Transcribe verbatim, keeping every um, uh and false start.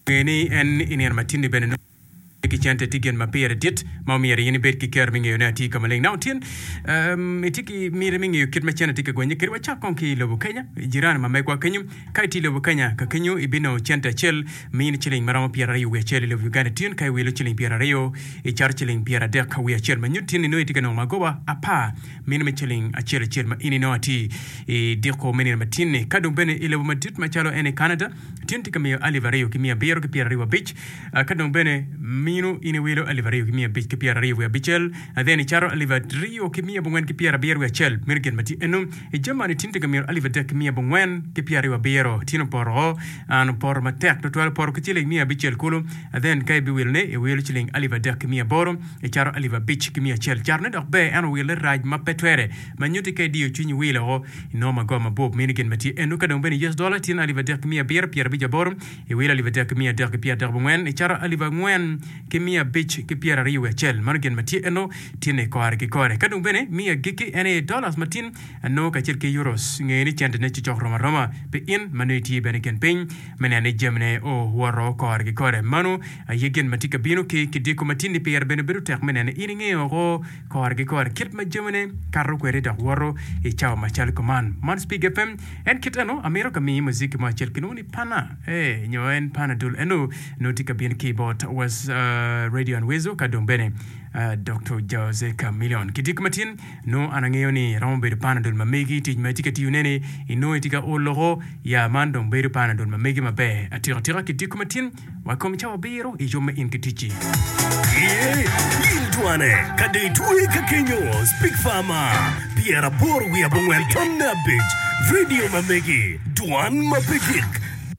Nge ni en i nino ma tin-ni bene nongo ki cente tye gin ma pire dit ma omyero in ibed ki kero me ngeyone atir ka maleng. Now tin um, itye ki miti me ngeyo kit ma cente tye ka gwenye kwede. Wacak kong ki i lobo Kenya, jirani ma megwa kenyo. Ka itye i lobo Kenya, ka kenyo ibinongo cente acel mini ciling ma romo pyeraryo wiye acel. I lobo Uganda tin ka iwilo ciling pyeraryo icato ciling pyeradek wiye acel. Ma nyuto tin ni nongo itye ka nongo magoba apar mino me ciling acel acel ma in inongo atir i diko me nino ma tin-ni. Ka dong bene i lobo madit macalo en i Canada, Tin tye ka miyo alip aryo ki miya abiro ki pyeraryo abic, ka dong bene mino in iwilo alip aryo ki miya abic ki pyeraryo wiye abicel, then icato alip aryo ki miya abongwen ki pyerabiro wiye acel. Meno gin ma tye eno. I Germany tin tye ka miyo alip adek ki miya abongwen ki pyeraryo abiro. Tin opoto o, an opoto matek tutwal, opoto ki ciling miya abicel kulu, then ka ibiwilone iwilo ciling alip adek ki miya aboro, icato alip abic ki miya acel. Catone dok ber ento wille rac ma pe twere. Ma nyutti ka idiyo cwinyi wilo o, inongo magoba mabup. Meno gin ma tye eno. Ka dong bene U S dollar tyen alip adek ki miya abiro pyerabic aboro, iwilo alip adek ki miya adek ki pyeradek abongwen, icato alip angwen ki miya abic ki pyeraryo wiye acel. Mano gin ma tye eno tyen kore ki kore. Ka dong bene miya agikki en aye dollars ma tin anongo kacel ki euros. Nge ni centene cocok rom aroma pi in ma nongo itye bene i kin piny me neno ni jamine owoto kore ki kore. Mano aye gin ma tye ka bino ki kidiko ma tin-ni pire bene bedo tek me neno in ingeyo woko kore ki kore kit ma jamine kato kwede dok woto i cawa macalo kuman. Man Spig FM en kit eno amito ka miyi muziki mo acel kilwongo ni Pana eh nyo en Pana dul eno nongo tye ka bino ki bot was uh, Radio and Weasel ka dong bene uh, Doctor Jose Chameleone. Kidiko matin nongo an angeyo ni romo bedo Pana dul ma megi tic ma itye ka tiyo neni inongo itye ka olo ya man dong bedo Pana dul ma megi maber atika tika kidiko matin Wa kom cawa abiro i yub me in ki ticci. Ye, in dwane, ka dong itwe ka kenyo, Speak Farmer, pyeraboro wiye abongwen tonne abic, radio ma megi, dwan ma pe gik.